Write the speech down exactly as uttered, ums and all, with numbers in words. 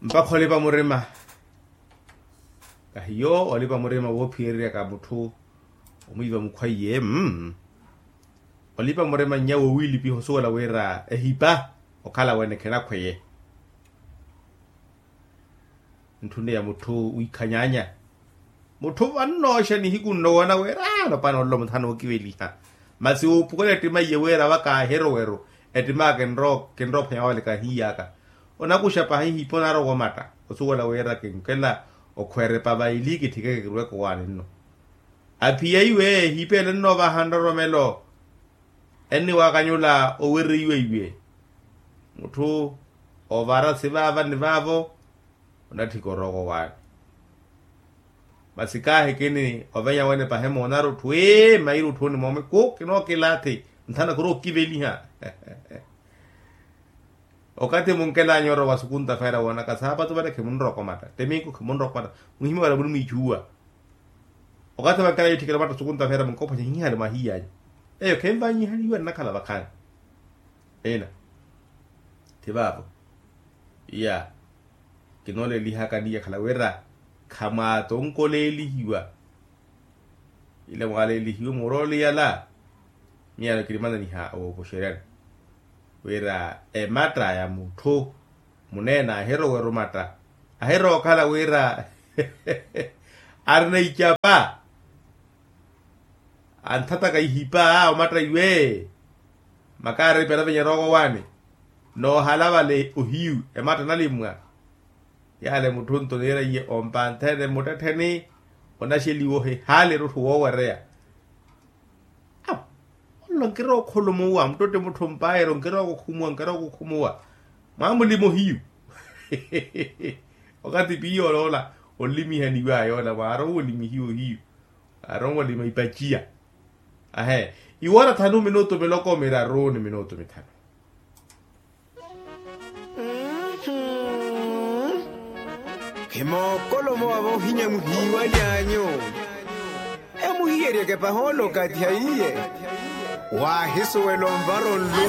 Mpakha olipa murima. Kahiyo olipa murima woophiyereryaka mutthu omwiiva mukhwaiye. Olipa murima nnya wowiilipiha osuwela wira ehipa okhala wene khinakhweye. Ntthunne ya mutthu wiikhanyaanya. Mutthu vannooxa nihiku nnowoona wira anopana ololo muthana ookiveliha. Masi wuupukela ettima iye wira waka ahiroweru ettimaka kinroophwanya wawale kahiiyaka. Onakuxa pahi hipa onarowa omatta osuwela wira kinkela okhwerepa vaili kitthikeke kirweke owaani nno. Aphiya iwe hipa ele nnoovaha nroromelo. Enniwakanyula owireiwa iwe. Mutthu ovara sivaava ni vaavo. Onatthika orooka owaani. Masi kaahikini ovenya wene pahi moonari otthu ee mairi otthuuni moome ku kinookilaathi. Nthana khurokiveliha. Okathi munkelanya orowa sukunta feera woonaka saapatu vale khimunrokomatta teminku khimunrokomatta. Muhimya wala munimwiichuwa. Okathi vankelanya itthikela vatta sukunta feera munkophwanya hihale mwahiyanyu. Eyo khenvanyihaliwa nnakhala vakhaani. Ina. Thi vaavo. Iya. Kinoolelihaka niya khala wira khamwaatonkoleelihiwa. Ila mwaalelihiwe murooli yala. Miyano kilimananiha owopoxeryani wira ematta ya mutthu muneene ahiroweru matta ahirookhala wira arina icapa. Anthataka ihipa omatta iwe. Makaari pera venyerooko waani. Noohala vale ohiyu ematta nalimwa. Yaale mutthu nto niira iye ompanthene mmuttettheni. Onaxeliwa ohihaale erutthu woowereya. Awo. Ololo nkirowa okhulumuwa muttotte mutthu mpaayero nkirowa okukhumuwa nkirowa okukhumuwa. Mwaamulima ohiyu. Okathi piiya oloola onlimihaniwaya ola mwaarowa olimihiwa ohiyu. Aarowa olima ipaciya. Ahe. Iwoora thanu minutu miloko miraru ni minutu mithanu. Khimookolomowa voohinya muhiiwalyanyu. Emuhiyeryeke pahoolo okathi haiye. Waahisuwela onvara onlumi.